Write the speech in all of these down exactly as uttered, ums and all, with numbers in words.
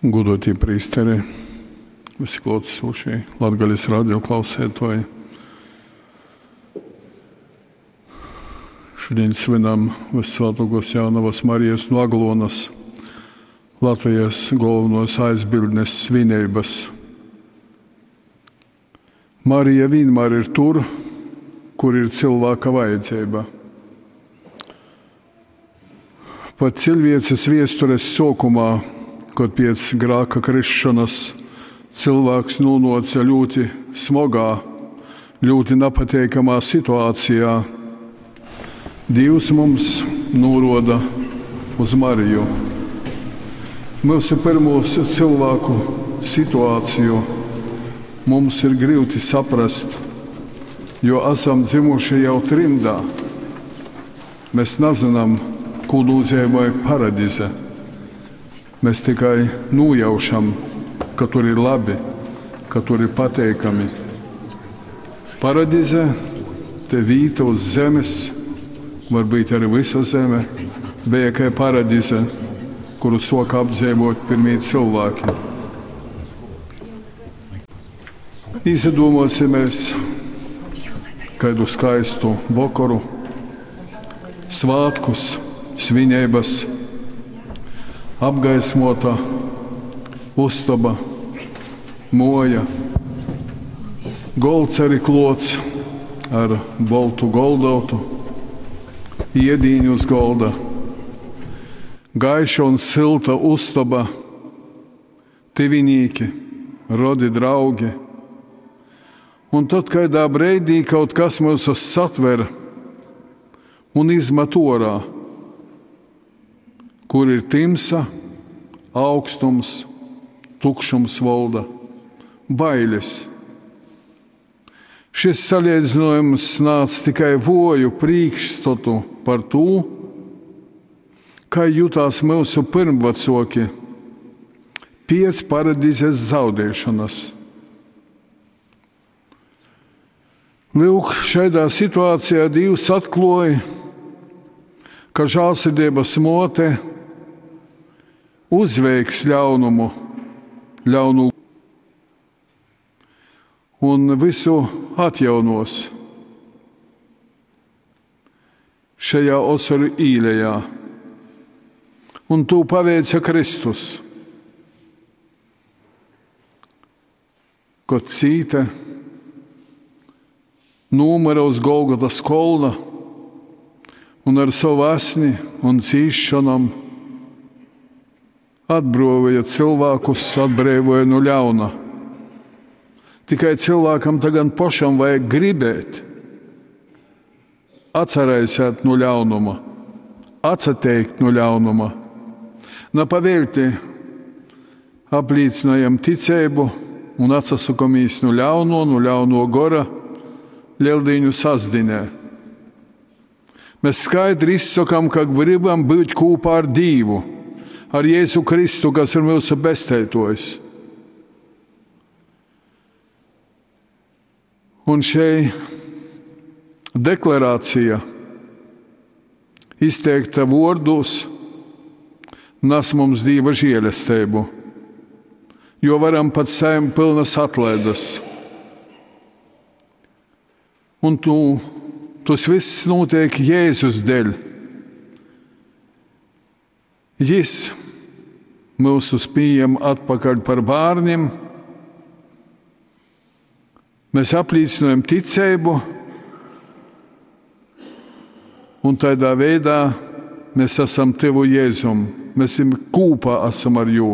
Godotī prīsteri, visi klātesošie Latgales radio klausētoji. Šodien svinam Vissvētākos Jaunavas Marijas no Aglonas, Latvijas galvenos aizbildnes svinības. Marija vienmēr ir tur, kur ir cilvēka vajadzība. Pat cilvēces viestures sākumā, kad pēc grāka krišanas cilvēks nonāca ļoti smagā, ļoti nepateikamā situācijā, Dievs mums noroda uz Mariju. Mūsu pirmos cilvēku situāciju mums ir grūti saprast, jo esam dzimuši jau trimdā. Mēs nezinām, ko nozīmē paradize. Mēs tikai nojaušam, ka tur ir labi, ka tur ir pateikami. Paradize te vīta uz zemes, varbūt arī visa zeme, bija kā paradize, kuru soka apdzīvot pirmie cilvēki. Izdomosimies kādu skaistu vokoru, svētkus, svinības, apgaismota uztaba, moja, golds arī klots ar boltu goldautu, iedīņu uz golda, gaiša un silta uztaba, tivinīki, rodi draugi. Un tad kādā breidī kaut kas mūs satver un izmet orā, kur ir timsa, augstums, tukšums valda, bailes. Šis salīdzinājums nāca tikai voju priekšstatu par to, kā jutās mūsu pirmvecoki pēc paradīzes zaudēšanas. Lūk, šādā situācijā Dievs atklāja, ka žēlsirdības mote uzveiks ļaunumu, ļaunu un visu atjaunos šajā osoru īlejā. Un to paveica Kristus, kad cīta nomira uz Golgotas kolna un ar savu asni un cīšanām atbrīvoja cilvēkus, atbrīvoja no ļauna. Tikai cilvēkam tagad pašam vajag gribēt atcerēsiet no ļaunuma, atsateikt no ļaunuma. Na pavēlti apliecinājam ticību un atsasakamies no ļauno, no ļauno gora Lieldīņu sasdinē. Mēs skaidri izsakām, ka gribam būt kopā ar Dievu, ar Jēzu Kristu, kas ir mūsu bestētojs. Un šeit deklarācija izteikta vārdos nes mums Dieva žēlastību, jo varam pat saim pilnas atlaidas. Un tu, tas viss notiek Jēzus dēļ. Jis mūsus pieņem atpakaļ par bērniem. Mēs apliecinājam ticību, un tādā veidā mēs esam tevu Jēzum. Mēs esam kopā esam ar jū.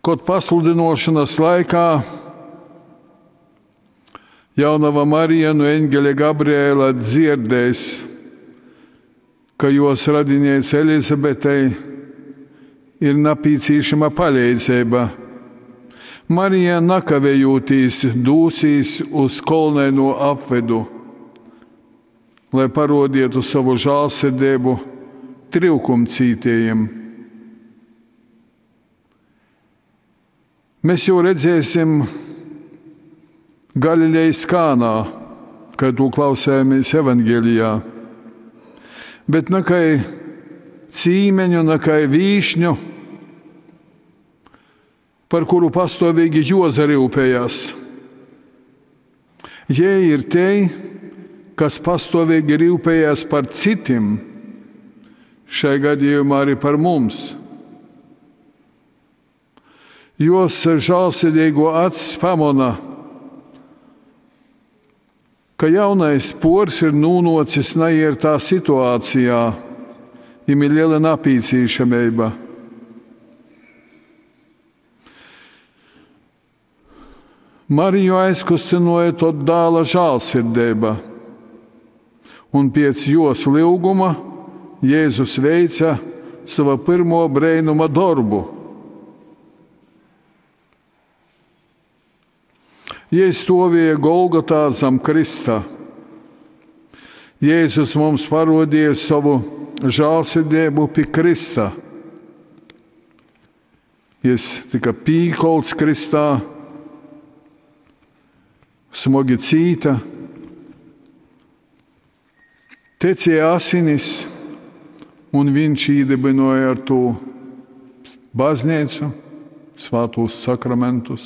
Kaut pasludinošanas laikā Jaunava Marija no eņģeļa Gabriela dzirdēs, ka jos radiniece Elizabetei ir nepieciešama palīdzība. Marija nakavējoties dūsīs uz kolnaino apvedu, lai parodītu savu žēlsirdību trūkumcītējiem. Mēs jau redzēsim Galilejas Kānā, kad to klausējāmies Evangelijā. Bet ne kā cīmeņu, ne kā vīšņu, par kuru pastovīgi juozaryupējas. Jei ir tei, kas pastovīgi ryupējas par citim, šai gadījumā arī par mums. Jos žālsirdīgo acs pamona, ka jaunais pors ir nūnocis naiertā situācijā, viņam ir liela napīcīšamība. Mariju aizkustināja tot dāla žālsirdība, un pēc jos lūguma Jēzus veica sava pirmo brēnuma darbu. Jei stāvēja Golgotā zem Krista. Jēzus mums parodīja savu žālsirdību pie Krista. Jis tika pīkolts Kristā, smagi cīta, tecēja asinis, un viņš īdibināja ar to baznīcu, svētos sakramentus.